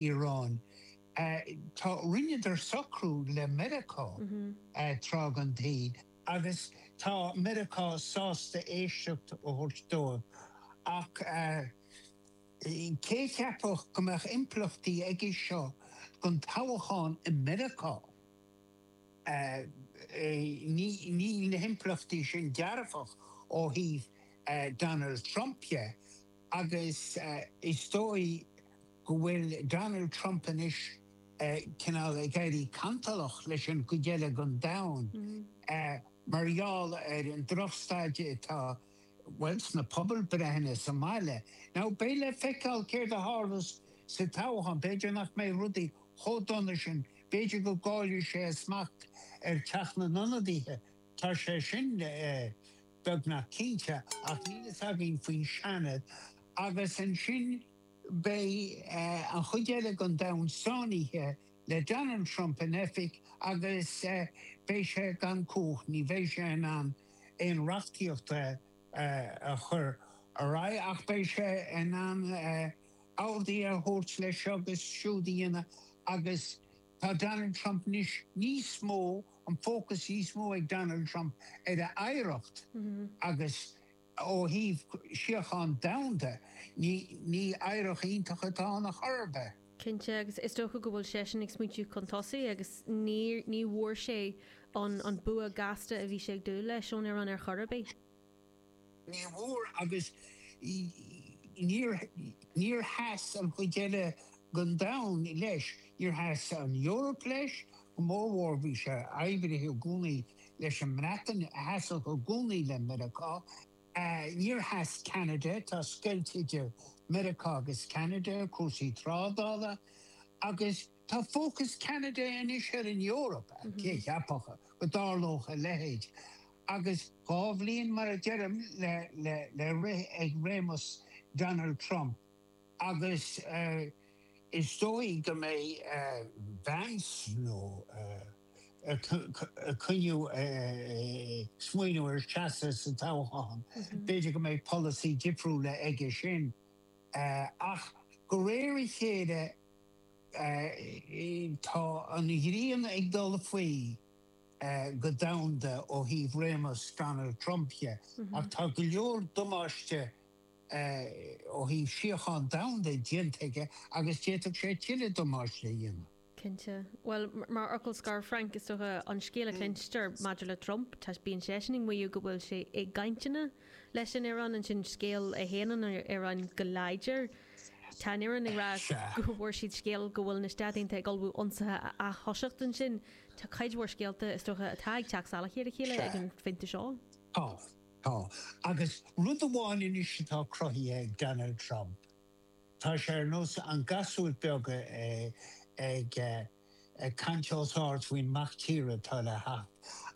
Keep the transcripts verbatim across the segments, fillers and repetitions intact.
Iaráin. Tá rinneadar socrú le Meiriceá tráth den tsaol agus tá Meiriceá sásta éisteacht a thabhairt dóibh ach cé a cheapfadh go mbeadh impleachtaí aige seo don toghchán i Meiriceá? Níl na himpleachtaí sin dearfach ó thaobh Donald Trump dhe agus is dóigh go bhfuil Donald Trump anois cineál ag éirí cantalach leis an gcuid eile den domhan mar gheall ar an drochstaid atá, bhuel, sna pobalbreitheanna sa mbaile. Now, beidh le feiceáil céard a tharlós sa toghchán, b'fhéidir nach mbeidh rudaí chomh dona sin, b'fhéidir go gcaillfidh sé a smacht ar Teach na nIonadaithe, tá sé sin beagnach cinnte, ach níl fhios againn faoin Seanad agus ansin beidh an chuid eile den domhan sáinnithe le Donald Trump in oifig agus beidh sé gan cumhacht, ní bheidh sé in ann aon reachtaíocht a chur ar aghaidh ach beidh sé in ann orduithe a thabhairt leis seo agus siúd a dhéanamh agus tá Donald Trump anois níos mó, an fócas níos mó ag Donald Trump ar a oidhreacht agus ó thaobh síocháin domhanda, ní ní oidhreacht iontach atá ann ar chor ar bith. Cinnte, agus is dócha go bhfuil seisean ag smaointiú chun tosaigh agus ní ní bhfuair sé an an bua gasta a bhí sé ag dúil leis ón Iaráin ar chor ar bith. Ní bhfuair agus níor níor sheas an chuid eile den domhan leis, níor sheas an Eoraip leis, go mórmhór bhí sé oibrithe i gcónaí leis an mBreatain a sheasfadh i gcónaí le Meiriceá. Níor sheas Ceanada, tá scoilt idir Meiriceá agus Ceanada, cúrsaí trádála, agus tá fócas Ceanada anois ar an Eoraip, cé a cheapfadh go dtarlódh a leithéid? Agus dhá bhliain, mar a deirim, le rith ag réimeas Donald Trump agus is dóigh go mbeidh Vance nó ag coinniú smaoineamh ar seasamh sa toghchán, b'fhéidir go mbeidh polasaí difriúla aige sin. Ach de réir a chéile tá an ghrian ag dul faoi go domhanda ó thaobh réimeas Donald Trump dhe, ach tá go leor damáiste ó thaobh síocháin domhanda déanta aige agus d'fhéadfadh sé tuilleadh damáiste a dhéanamh. Cinnte. Bhuel, mar fhocal scoir, Frank, is dócha an scéal a chluinstear maidir le Trump, tá, bíonn seisean ag maíomh go bhfuil sé i gcainteanna leis an Iaráin, ansin scéal a shéanann an Iaráin go láidir. Tá an Iaráin ag rá go bhfuair siad scéal go bhfuil na Stáit Aontaithe ag ullmhú ionsaithe a ath-thoiseacht ansin. Tá cuid mhór scéalta, is dócha, atá ag teacht salach ar a chéile ag an phointe seo. Tá. Tá. Agus rud amháin anois atá cruthaithe ag Donald Trump, tá sé ar nós an gasúr beag ag caint os ard faoin mac tíre atá le theacht.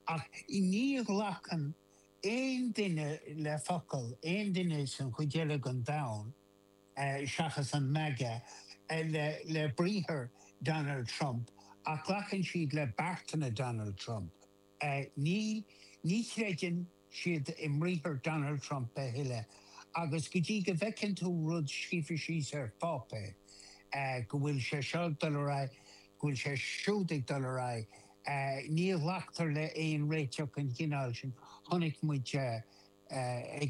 Ach ní ghlacann aon duine le focal aon duine san chuid eile den domhan, seachas an MAGA, le briathar Donald Trump, ach glacann siad le beartanna Donald Trump. Ní ní chreideann siad i mbriathar Donald Trump a thuilleadh agus go dtí go bhfeiceann tú rud scríofa síos ar pháipéar go bhfuil sé seo ag dul ar aghaidh, go bhfuil sé siúd ag dul ar aghaidh, ní ghlactar le aon réiteach den chineál sin. Chonaic muid ag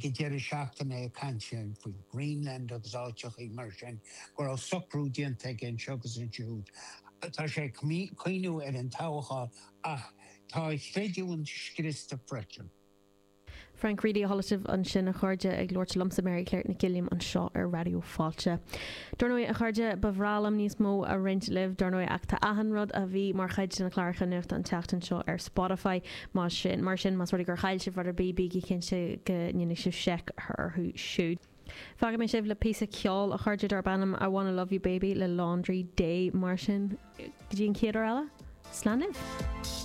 an deireadh seachtaine ag caint faoi Greenland agus áiteachaí mar sin, go raibh socrú déanta aige anseo agus ansiúd. Tá sé ag cuimhniú ar an toghchán ach tá a chreidiúint scriosta freisin. Frank Reidy a chuala sibh ansin, a chairde, ag labhairt liomsa, Mary Claire Nic Uilliam, anseo ar Raidió Fáilte. Dar ndóigh, a chairde, ba bhreá liom níos mó a roinnt libh, dar ndóigh, ach tá achan rud a bhí mar chuid de na cláracha nuachta an tseachtain seo ar Spotify. Mar sin, mar sin, más rud é gur chaill sibh rud ar bith, bígí cinnte go ndéanfaidh sibh seic orthu siúd. Fágfaidh mé sibh le píosa ceoil, a chairde, darb ainm I Wanna Love You Baby le Laundry Day. Mar sin, go dtí an chéad uair eile, slán libh!